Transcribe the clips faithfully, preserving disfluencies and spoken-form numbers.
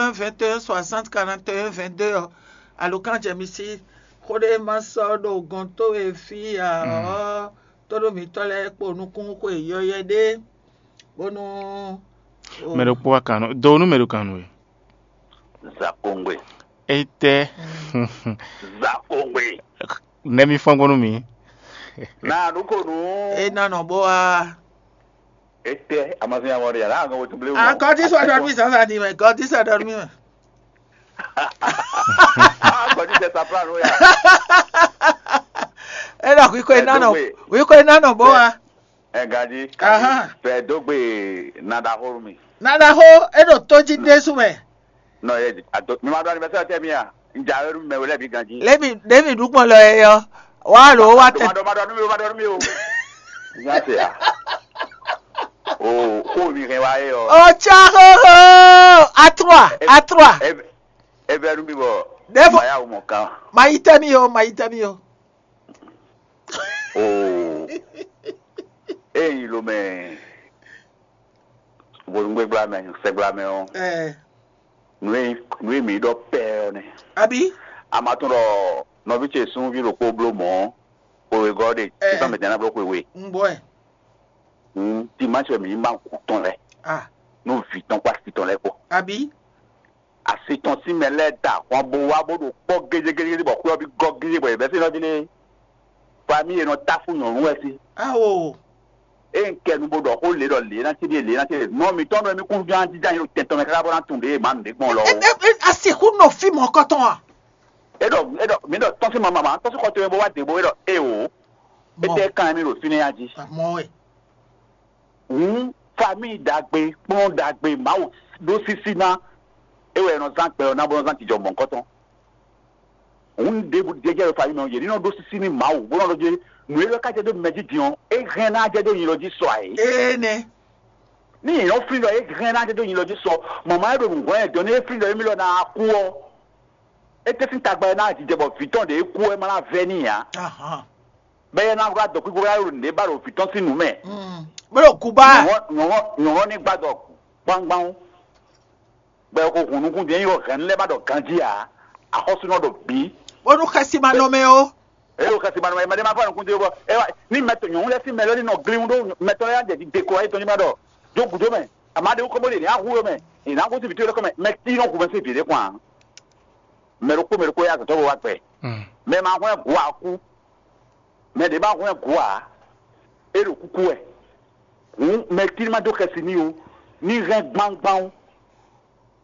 vingt et un soixante quarante et un vingt-deux ɔ́, alǒkan jɛ mi sí. Xó ɖé ma sɔ́ ɖo gɔn towe fí ǎ ɔ́, tóɖó mǐtɔn lɛ́ɛ kpo nukún xwe yɔyɔ́ ɖé, bónú. Mɛ ɖokpó wa kan nú do nú mɛ ɖo kan nú we. Zakongbe. Etɛ. Zakongbe. Nɛmi fɔn gbɔn nú mi. Na ɖokonu. E na nɔ bó wá. Etɛ amazɔn ya wɔri ala aŋɔ wotu blewu. Ah, God is what mi sasa di mɛ. God is what mi mɛ. Kɔdi tɛ sapla nu ya. E na kwi ko e na nɔ, kwi ko e na nɔ bó wá. Ɛgadi. Ahan. Fɛ dogbe nadaxo mi. Nana xó e ɖo tó jí ɖésú mɛ. Nɔ yɛ ado mi ma ɖo anniversaire tɛ mi a. N ja yɔrɔ mi mɛ wele bi ganji. Lébi Lébi ɖukpɔn lɔ yɛ yɔ. Wá lo wá tɛ. Ma dɔ ma dɔ nu mi o ma dɔ nu mi o. N y'a se ya. O ko mi hɛn wa ye yɔ. Ɔtsá xóxó. Atrua atrua. E bɛ nu mi bɔ. Ɖevo. Ma ya o mɔ kan. Ma yi tɛ mi o, ma yi tɛ mi o. Oo. Eyi lo mɛ. Vodungbegbla mɛ, sɛgbla mɛ ɔ. Ɛɛ, Nu e nu e mi ɖɔ pɛ ɔ nɛ. Abi. A ma tún ɖɔ nɔvi ce sunvi ɖokpó bló mɔ̌. Xwewegɔ́ ɖe Ɛɛ. Sísan mɛ tɛn ná bló xwewe. N bɔ ɛ. Hun timáṣɛ mi ma kú tɔn lɛ. Ah. Nú vǐ tɔn kpó asi tɔn lɛ kpó. Abi. Asi tɔn sín mɛ lɛ́ɛ da ahwan bo wá bó ɖo kpɔ́ gédégédé bɔ xwé ɔ́ bí gɔ́ gédé bɔ yě bɛ́ sí nɔví lé. Famille e nɔ táfú nyɔ̌nu wɛ sí. Awo. Eye n kɛ nu bo ɖɔ xó lě ɖɔ lě ná céɖé lě ná céɖé. Nɔ mǐtɔn nɔ mi kún ján jínján yě ɖo tɛn tɔn mɛ káká bó ná tunwun ɖě yě má nǔɖé gbɔn lɔ E o. e e a sixú nɔ fí mɔ̌ kɔtɔn a? É ɖɔ é ɖɔ mǐ ɖɔ tɔ́n sín ma mama tɔ́n sín xɔ tɔn bó wá dě bó é ɖɔ é o. É tɛ kan mi ɖo fínɛ́ ya jí. Àmọ́ ẹ̀. Hǔn famille ɖagbe kplɔ́n ɖagbe Mawu ɖó sísí ná. É wɛ è nɔ zán gbɛ ɔ́ ná bó nɔ zán jijɔ mɔ̌hunkɔtɔn. Hǔn ɖěbǔ jɛjɛ ɖo famille mɛ ɔ́, yě ní nɔ ɖó sísí nú Mawu bó nɔ ɖɔ jé nǔ e lɔ ka jɛ dó mɛ jí din ɔ́, é hɛn ná jɛ dó nyi lɔ jí sɔ ǎ é. Ee nɛ. Ní yě nɔ flín ɖɔ é hɛn ná jɛ dó nyi lɔ jí sɔ, mɔ̌ ma é ɖo nǔ hwɛ́n ɛ dɔn ní é flín ɖɔ émí lɔ ná kú ɔ́, é tɛ́ sín tagba ɛ ná jijɛ bɔ vǐ tɔn ɖě é kú ɛ má ná vɛ́ n'i ǎ. Ahan. Bɛ́ yɛ ná wlá dɔ̌kúkú wá ɖo nǔɖé ba ɖo vǐ tɔn sín nǔ mɛ. Mm. Bó ɖo Kuba. Nyɔ̌hɔn nyɔ̌hɔn ní gbá dɔ gbangban. Bɔ é ko hun nukún din é nyí hɛn lɛ́ɛ ba ɖɔ ganjí ǎ. Axɔ́súnɔ ɖo bǐ. Bónú xɛsi ma nɔ mɛ o. Eye o kasi ma nɔ ma ɖe ma fɔ nukún din bɔ ɛ wá ní mɛ tɔn nyɔ̌hɔn lɛ́ɛ sín mɛ lɛ́ɛ ní nɔ glín ɖó mɛ tɔn lɛ́ɛ jɛ ɖiɖe ko ayé tɔn ní ma ɖɔ jó gǔdo mɛ àmọ́ aɖe wúkọ́ bó ɖe ní ahu mɛ ìná kó sí vǐtó lɛ́kọ́ mɛ mɛ tí nɔ hu mɛ sí vǐ ɖé kwan. Mɛ ɖokpó mɛ ɖokpó yá azɔ̌tɔ́ bó wá gbɛ. Mɛ ma hwɛ́n gu akú. Mɛ ɖě ma hwɛ́n gu ǎ. É ɖo kúkú wɛ. Hǔn mɛ tí ní ma dó xɛsi n'i o. Ní hɛn gbangban o.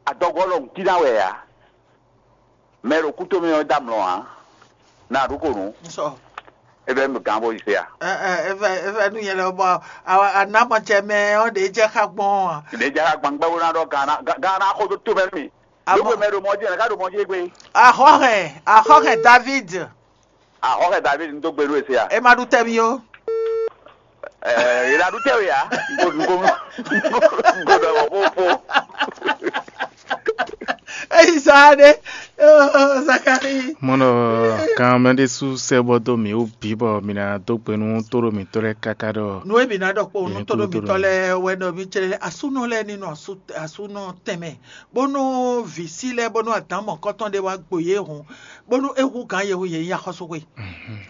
Adɔgɔ́ lɔ nǔtí ná wɛ ǎ. Mɛ ɖo kúto mɛ ɔ́ dó amlɔ ǎ. Na ɖu ko nǔ. Nsɔ. É bɛ́ mi gǎn bó yi se a. Ɛ ɛ ɛ vɛ ɛ vɛ nu yɛn lɛ bɔ awa anamɔtsɛ mɛ ɔ́ ɖe jɛ xa gbɔn a. Ɖě jɛ xa gbangba bó ná ɖɔ gǎn ná gǎn ná xó dó tó mɛ nú mi. Amɔ- Lóko mɛ ɖo mɔ jí ɛ ká ɖo mɔ jí gbé. Axɔxɛ axɔxɛ David. Ahɔxɛ David ń dó gbe nú èsè a. E ma ɖu tɛ mi o. Ɛɛ yìí la ɖu tɛ o ya. Ngo ngo ngo ɖɔ wɔ fó fó. Eyi sa ɖe. Oh, Zakari. Mɔnɔ kan mɛ ɖé sú sɛ bɔ dó mi wú bí bɔ mi ná dó gbe nú tóɖó mǐtɔn lɛ́ɛ káká ɖɔ. Nu e mi na ɖɔ kpó nu Yě tó ɖo kúdó mi tɔ ɖo lɛ wɛ nɔ mi tsɛ asúnɔ lɛ ni nɔ asú asúnɔ tɛmɛ bónú vǐ sí lɛ bónú adǎn mɔ̌kɔtɔn ɖé wá gbo yé hùn bónú é hú gǎn yehun yě nyí axɔ́súxwe.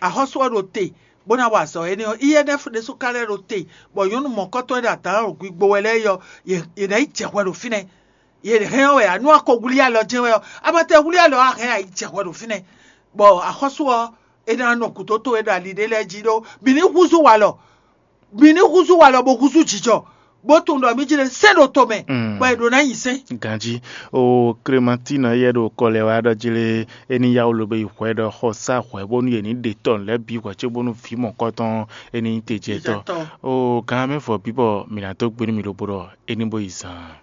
Axɔ́sú ɔ́ ɖo te bó ná wa azɔ̌ énɛ́ ɔ́, I N F ɖésú ka lɛ́ ɖo te, bɔ nyɔ̌nu mɔ̌kɔtɔn e ɖo adǎn ɖo gbigbo wɛ lɛ́ɛ yɔ, yě yě ná yi jɛ hwɛ ɖo fínɛ́. Yě hɛn ɔ́ wɛ anu akɔ wlí alɔ jɛ́n wɛ ɔ́, abatɛ wlí alɔ á hɛn ayi jɛ hwɛ ɖo fínɛ́. Bɔ axɔ́sú ɔ́, é ná nɔ gǔdo towe ɖo ali ɖé lɛ́ɛ jí ɖó mǐ ní húzú walɔ, mǐ ní húzú walɔ bó húzú jǐjɔ, bó tunwun ɖɔ mí jí ɖe sɛ́n ɖo tomɛ, Mm. bɔ è ɖǒ ná nyi sɛ́n. Ganjí o Klemantín yɛ ɖo kɔ lɛ wá ɖɔ jí lé é ní yá wú lo be yi hwɛ ɖɔ xɔ sá hwɛ bónú yě ní ɖe tɔn lɛ́ɛ bǐ hwɛ cóbónú vǐ mɔ̌kɔtɔn é ní nyí tejɛtɔ́. Tejɛtɔ́. O gǎn mɛ vɔ bí bɔ mǐ ná dó gbe nú mi lobo ɖɔ é ní bó yi zaan.